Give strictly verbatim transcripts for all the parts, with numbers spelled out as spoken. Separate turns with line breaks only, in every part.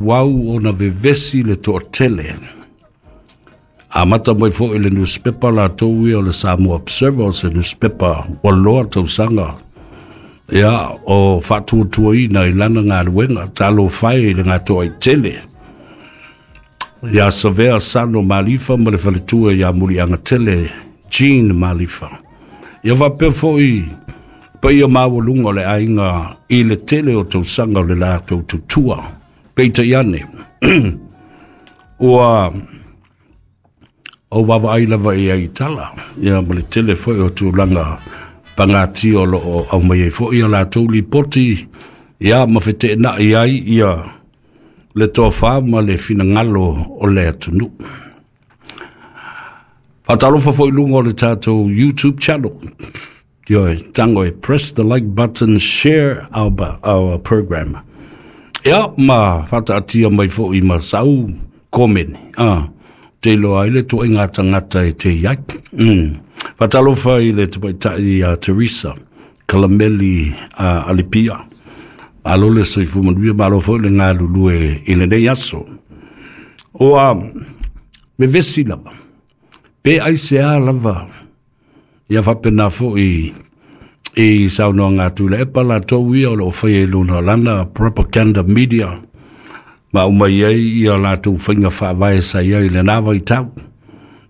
Wau ona vevesi le toatele. Amata mai foi le newspaper latou ia o le Samoa Observer, o se newspaper ua loa tausaga ia o faatuatuaina i lana galuega. Talofa e i le gatoaitele ia Savea Sano Malifa ma le faletua ia Muliagatele Jean Malifa. Ia faapea foi paia maualuga o le aiga i le tele o tausaga o le latou tutua. Peitai ane, ua ou vaavaai lava i ai i tala, ia ma le tele foi o tulaga pagatia o loo aumai ai foi a latou lipoti, ia ma feteenai ai ia le tofa ma le finagalo o le atunuu. Faatalofa foi i luga o le tatou YouTube channel. Ioe, tango e press the like button, share our, our program. Ia, ma faataatia mai foi ma sau komeni. Ah, te iloa ai le tuaiga tagata e te iai. Mm. Faatalofa i le tamaitai a Teresa Kalameli uh, Alipia. Malo le soifua manuia, malo foi le galulue i lenei aso. Ua vevesi lava, pe aisea lava, ia faapena foi i saunoaga a Tuilaepa latou ia o loo faia i lona lana propaganda media ma aumai ai ia latou faiga faavae sa i ai i lena vaitau.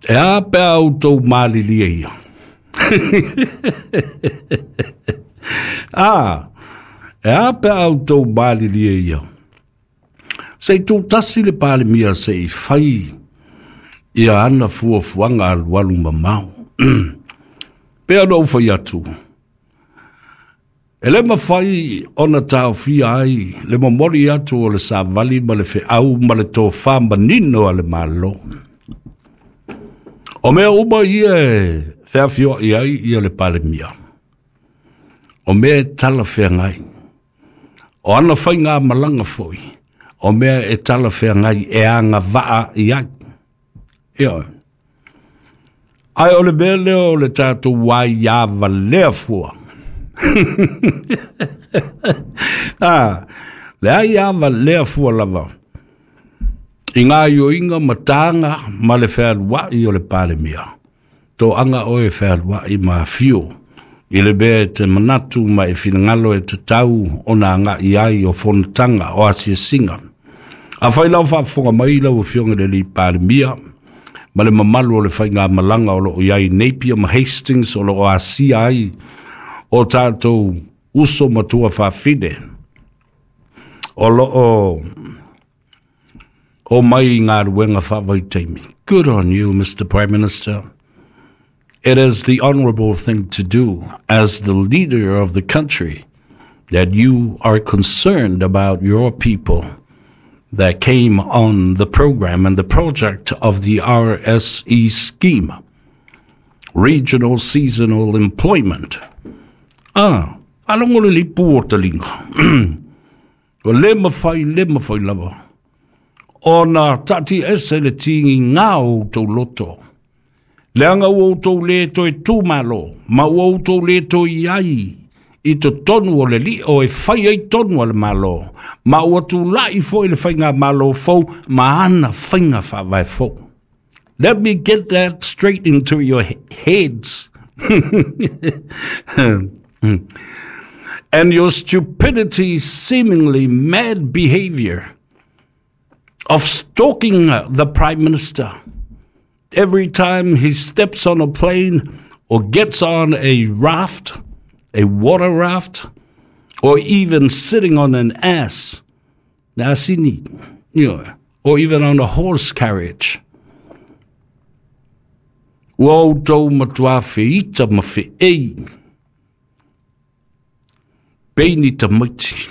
E a pe a outou malilie ia? Ah, e a pe a outou malilie ia? Se i tutasi le Palemia se i fai ia ana fuafuaga alualu mamao. Pe ona ou fai atu, e le mafai ona taofia ai le momoli atu o le savali ma le feau ma le tofa manino a le Malo. O mea uma ia e feafioai ai ia le Palemia, o mea e talafeagai. O ana faigamalaga foi, o mea e talafeagai e agavaa i ai. Ioe. Ae o le mea lea o le tatou aia valea fua. Ah, le aia valea fua lava i ngā ioinga ma tāga ma le fealuai o le Palemia. Toaga oe fealuai ma afio i le mea e te manatu ma e finagalo e tatau ona agai ai o fonotaga o asiasiga. Afai lau faafofoga mai lau afioga i le alii Palemia ma le mamalu o le faigamalaga o loo i ai Napier ma Hastings o loo asia ai o tatou uso ma tuafafine o loo o mai i galuega faavaitaimi. Good on you, Mister Prime Minister. It is the honorable thing to do as the leader of the country that you are concerned about your people that came on the program and the project of the R S E scheme, Regional Seasonal Employment. Ah, alongo le lipu o talinga. O le mawhai, le mawhai lava. Ona tati ese le tingi ngā o tau loto. Leanga ua outou le toe tūmalo, ma ua outou le toe iai i totonu o le lio e fai ai tonu a le malo, ma ua tūlai foi le faiga malo fou, ma ana faiga faavae fou. Let me get that straight into your heads. And your stupidity, seemingly mad behavior of stalking the Prime Minister every time he steps on a plane or gets on a raft, a water raft, or even sitting on an ass, or even on a horse carriage. Ua outou matua feita ma feei, peini tamaiti.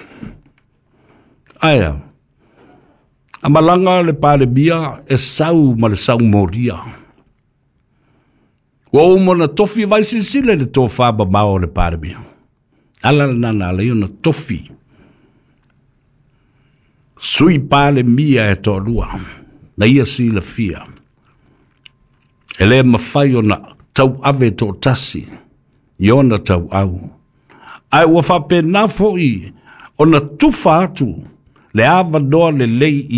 Aia, amalanga le Palemia e sau ma le sau moria. Ua uma na tofi vai silasila le tofa mamao o le Palemia. Ala le nana ala ia na tofi. Sui Palemia e toalua, na ia silafia. E le mafai ona tauave toatasi, i ona tauau. Ae ua faapena foi ona tufa atu Le avanoa lelei.